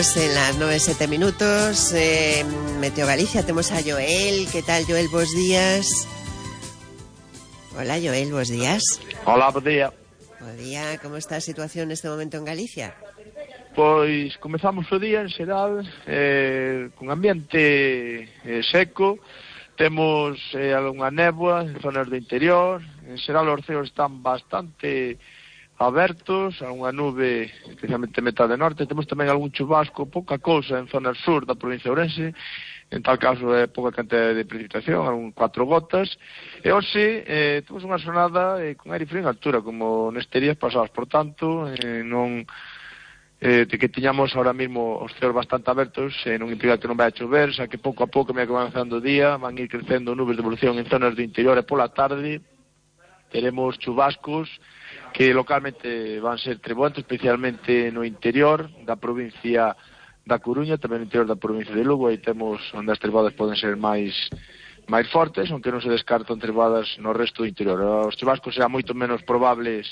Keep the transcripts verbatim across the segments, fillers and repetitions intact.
Estamos en las nove e sete minutos. eh, Meteo Galicia, temos a Joel. Que tal, Joel? Bos días. Hola, Joel, bos días. Hola, bo día. Bo día, como está a situación neste momento en Galicia? Pois comezamos o día en xeral eh, con ambiente eh, seco. Temos eh, algunha néboa en zonas do interior. En xeral os ceos están bastante abertos, algunha nube, especialmente metade norte. Temos tamén algún chubasco, pouca cousa en zonas sur da provincia de Ourense. En tal caso é pouca cantidade de precipitación, algún cuatro gotas. E hoxe eh, temos unha xornada eh, con aire frío en altura, como nestes días pasados. Por tanto, eh, non eh, de que tiñamos ahora mismo os ceos bastante abertos, eh, non implica que non vai a chover, xa que pouco a pouco, me que van avanzando o día, van ir crecendo nubes de evolución en zonas do interior, e pola tarde teremos chubascos que localmente van ser treboentos, especialmente no interior da provincia da Coruña, tamén no interior da provincia de Lugo. Aí temos onde as trebadas poden ser máis máis fortes, aunque non se descartan trebadas no resto do interior. Os chubascos serán moito menos probables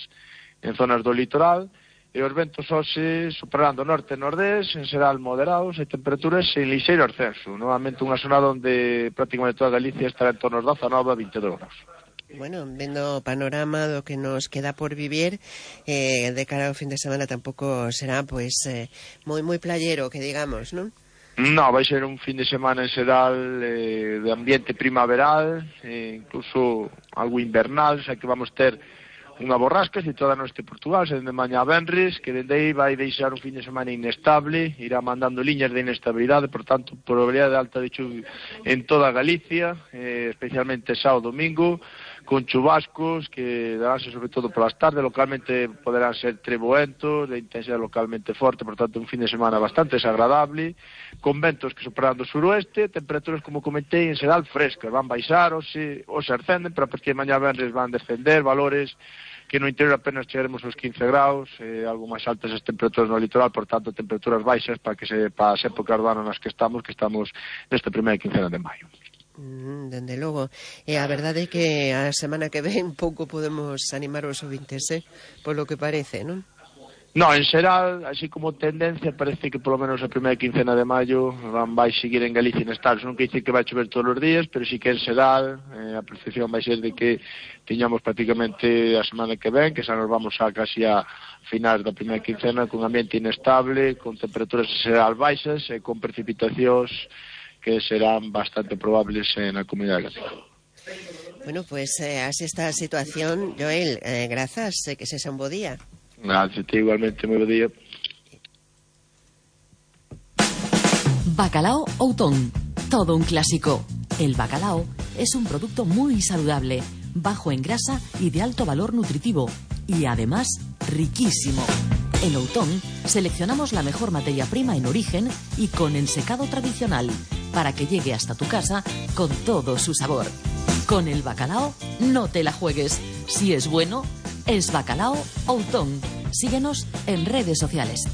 en zonas do litoral, e os ventos hoxe superarán do norte e nordés, en xeral moderados, e temperaturas en lixeiro ascenso. Novamente unha zona onde prácticamente toda Galicia estará en torno aos dezanove a vinte e dous graus. Bueno, vendo o panorama do que nos queda por vivir, eh, de cara ao fin de semana tampouco será, pois, eh, moi moi playero, que digamos, non? No, vai ser un fin de semana en xeral eh, de ambiente primaveral, eh, incluso algo invernal, xa que vamos ter unha borrasca situada no este Portugal, sendo de mañá a venres, que dende aí vai deixar un fin de semana inestable, irá mandando liñas de inestabilidade, por tanto, probabilidade alta de chuvia en toda Galicia, eh, especialmente sábado domingo, con chubascos que daránse sobre todo polas tardes, localmente poderán ser treboentos, de intensidade localmente forte, por tanto un fin de semana bastante desagradable, con ventos que superando o suroeste, temperaturas, como comentei, en xeral frescas, van baixar ou se, ou se ascenden, pero a partir de mañá venres van descender valores que no interior apenas chegaremos aos quince graus, eh, algo máis altas as temperaturas no litoral, por tanto temperaturas baixas para que se para as épocas do ano nas que estamos, que estamos nesta primeira quincena de maio. Mm, dende logo. E a verdade é que a semana que ven pouco podemos animar os ouvintes, eh? Polo que parece, non? No, en xeral, así como tendencia, parece que polo menos a primeira quincena de maio van vai seguir en Galicia inestables. Non quer dizer que vai chover todos os días, pero sí que en xeral eh, a percepción vai ser de que tiñamos prácticamente a semana que ven, que xa nos vamos a casi a finais da primeira quincena, con ambiente inestable, con temperaturas en xeral baixas e con precipitacións que serán bastante probables na comunidade galega. Bueno, pues eh, así está a situación. Joel, eh, grazas, eh, que sexa un bo día. Gracias, igualmente, moi bo día. Bacalao Outón, todo un clásico. El bacalao es un producto muy saludable, bajo en grasa y de alto valor nutritivo, y además riquísimo. En Outón seleccionamos la mejor materia prima en origen y con ensecado tradicional, para que llegue hasta tu casa con todo su sabor. Con el bacalao no te la juegues. Si es bueno, es Bacalao Outón. Síguenos en redes sociales.